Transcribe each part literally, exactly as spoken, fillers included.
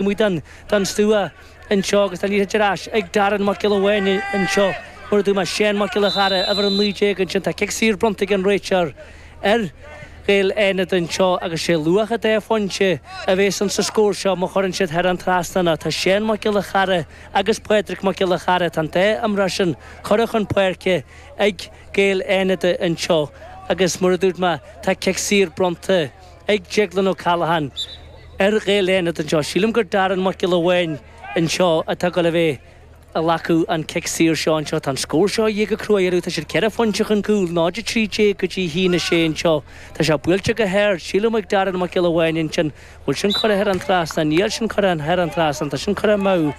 amuigh den den stua anseo agus tá an liathróid ar ais ag Darren Mac Giolla Bháin anseo mar a dúirt mé Séan Mac Giolla Chara uimhir a naoi déag ansin tá cic saor bronnta ag an réiteoir ar Ghaeil Fhánada anseo agus sé luach an dá phointe a bhéas an sa scór seo má chuireann siad thar an trasnán tá Séan Mac Giolla Chara agus Pádraig Mac Giolla Chara tá an dá imreoir sin curtha chun páirce ag Gaeil Fhánada anseo agus mar a dúirt mé tá cic saor bronnta ag Declan O'Callaghan ar Ghaeil Fhánada anseo. Sílim gur Darren Mac Giolla Bháin anseo atá go le bheith ag glacadh an cic saor seo anseo tá an scór seo go cruaú tá siad ceithre phointe chun cúil náid a trí déag go dtí haon a sé anseo. Tá sé buailte go hard sílim ag Darren Mac Giolla Bháin ansin bhfuil sin curtha thar an trasnán níl sin curtha thar an trasnán tá sin curtha amú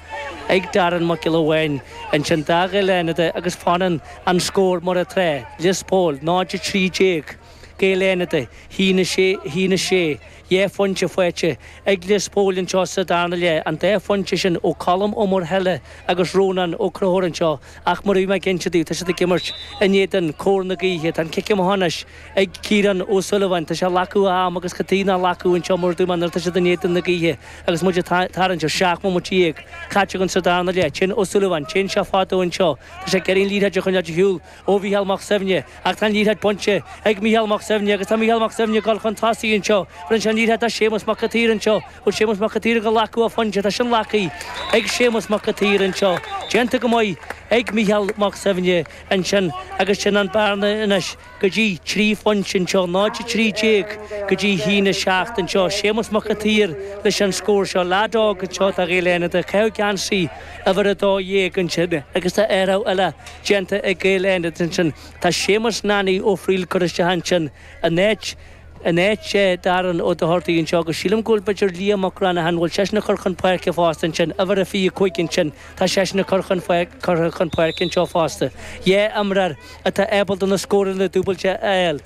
ag Darren Mac Giolla Bháin ansin do Ghaeil Fhánada agus fanann an scór mar atá Lios Póil náid a trí déag. Gaeil Fhánada haon a sé haon a sé dhá phointe faighte ag Lios Póil anseo sa darna leath an dá phointe sin ó Colm Ó Muirthile agus Rónán Ó Conchúir anseo ach mar bhí mé ag inse daoibh tá siad ag imirt in éadan cóir na gaoithe tá an cic amach anois ag Ciarán Ó Súilleabháin tá sé glacadh am agus cad ná glacadh anseo mar dúirt mé nuair tá siad in éadan na gaoithe agus muid tarraingt ar seacht mbomaite déag caite againn sa darna leath sin Ó Súilleabháin téann sé fada anseo Tá sé ag iarraidh an liathróid a choinneáil ar shiúl ó Mhícheál Mac Suibhne ach tá an liathróid bainte ag Mícheál Mac Suibhne agus tá Mícheál Mac Suibhne dul chun tosaigh anseo Rinne sé an liathróid Séamus Mac an tSaoir anseo bhfuil Séamus Mac an tSaoir ag glacadh a phointe tá sin glactha ag Séamus Mac an tSaoir anseo Déanta go maith ag Mícheál Mac Suibhne ansin agus sin an bearna anois go dtí trí phointe anseo náid a trí déag go dtí haon a seacht anseo Séamus Mac an tSaoir leis an scór seo leaid óg anseo do Ghaeil Fhánada caitheamh geansaí uimhir a dó dhéag ansin agus tá athrú eile déanta ag Gaeil Fhánada ansin tá Séamus Nanny Ó Frighil curtha isteach ansin in áit in áit Darren Ó Dochartaigh anseo agus sílim go bhfuil b'fhéidir Liam Mac Granathan bhfuil seisean curtha chun páirce fosta ansin uimhir a fiche cúig ansin tá seisean curtha chun curtha chun páirce anseo fosta. Dhá imreoir atá ábalta na scóranna dúbailte a fháil.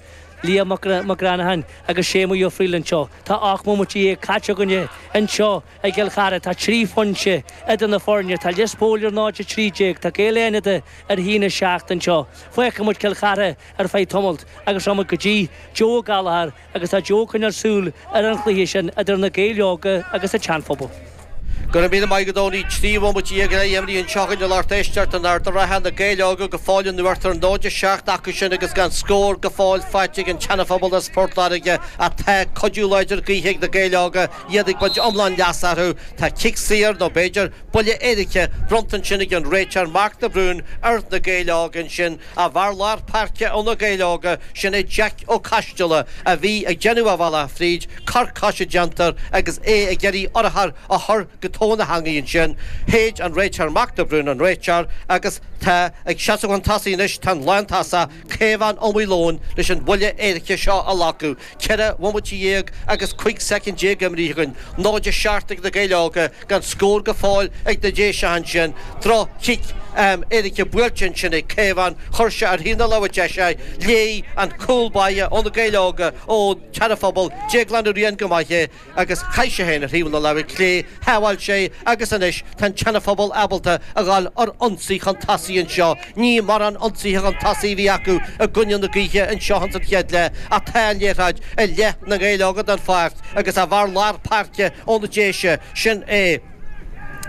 Liam Mac Granathan agus Séamus Ó Frighil anseo. Tá ocht mbomaite déag caite againne anseo i gCill Chartha tá trí phointe idir na foirne tá Lios Póil ar náid a trí déag tá Gaeil Fhánada ar haon a seacht anseo. Fágfaidh muid Cill Chartha ar feadh tamaill agus rachaimid go dtí Joe Gallagher agus tá Joe chun súil ar an chluiche sin idir na Gaeil Óga agus an Seanphobal. Go raibh míle maith agat Tony trí bhomaite déag imeartha anseo againn a lucht éisteachta in Ard an Rátha na Gaeil Óga go fóill in uachtar náid a seacht acu sin agus gan scór go fóill faighte ag an tSeanaphobal as Port Láirge atá cuidiú láidir gaoithe ag na Gaeil Óga iad ag baint iomlán leas astu tá cic saor nó b'fhéidir buille éirice bronnta ansin ag an réiteoir Mark de Brún ar na Gaeil Óga ansin a bhfear lár páirce ó na Gaeil Óga sin é Jack Ó Coisteala a bhí ag déanamh a bhealach fríd cor coise déanta agus é ag iarraidh urchar a chur go tóin na heangaí ansin Shéid an réiteoir Mark de Brún an réiteoir agus tá ag seasamh chun tosaigh anois tá an lántosach Caomhán Ó Maoileoin leis an bhuille éirice seo a ghlacadh ceithre bhomaite déag agus cúig soicind déag imeartha againn náid a seacht ag na Gaeil Óga gan scór go fóill ag na Déise ansin droch-chic um, éirice buailte ansin ag Caomhán chuir sé ar thaobh na láimhe deise léigh an cúl báire ó na Gaeil Óga ó Sheanaphobal Déaglán Ó Riain go maith é agus chaith sé féin ar thaobh na láimhe clé shábháil sé agus anois tá an tSeanaphobal ábalta a ghabháil ar ionsaí chun tosaigh anseo ní mar an ionsaithe chun tosaigh bhí acu i gcoinne na gaoithe anseo an chéad leath atá liathróid i leith na Gaeil Óga den pháirc agus a bhfear lár páirce ó na Déise sin é.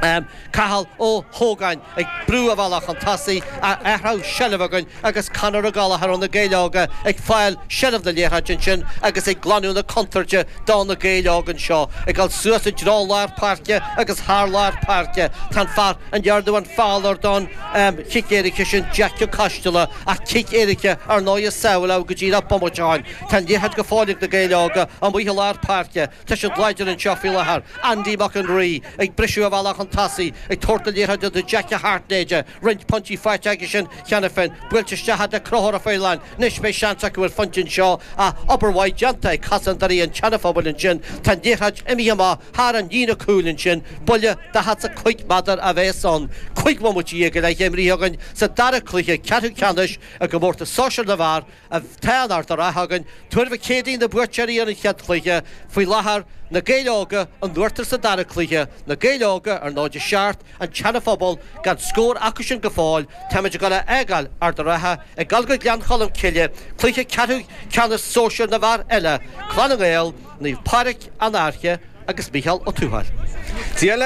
Um, Cathal Ó Hógáin ag brú a bhealach chun tosaigh a athrú seilbh againn agus Conor Ó Gallchóir ó na Gaeil Óga ag fáil seilbh na liathróide ansin agus ag glanadh na contúirte do na Gaeil Óga anseo ag dul suas i dtreo lár páirce agus thar lár páirce Tá fear an ndearnadh an feall air don um, chic éirice sin Jack Ó Coisteala ach cic éirice ar ndóigh sábháilte go dtí na bomaite Tá liathróid go fóill ag na Gaeil Óga amuigh i lár páirce Tá siad láidir anseo faoi láthair Andy Mac an Rí ag briseadh a bhealach chun tosaigh ag tabhairt na liathróide do Jack Hartnéide roinnt pointí faighte aige sin cheana féin buailte isteach de Conchúr Ó Faoláin anois beidh seans acu ar phointe anseo a obair mhaith déanta ag cosantóirí an tSeanaphobail ansin Tá liathróid imithe amach thar an líne cúil ansin buille daichead a cúig méadar a bheas ann cúig bhomaite déag le himeacht againn sa dara cluiche ceathrú ceannais i gcomórtas sóisir na bhfear atá in Ard an Rátha againn Tuar Mhic Éadaigh na buaiteoirí ar an chéad chluiche faoi láthair na Gaeil Óga in uachtar sa dara cluiche na Gaeil Óga ar náid a seacht an tSeanaphobal gan scór acu sin go fóill Táimid ag dul a fhágáil Ard an Rátha ag dul go Gleann Cholm Cille cluiche ceathrú ceannais sóisir na bhfear eile Clanna nGael Naomh Pádraig an Fhairche agus Micheál Ó Tuathail.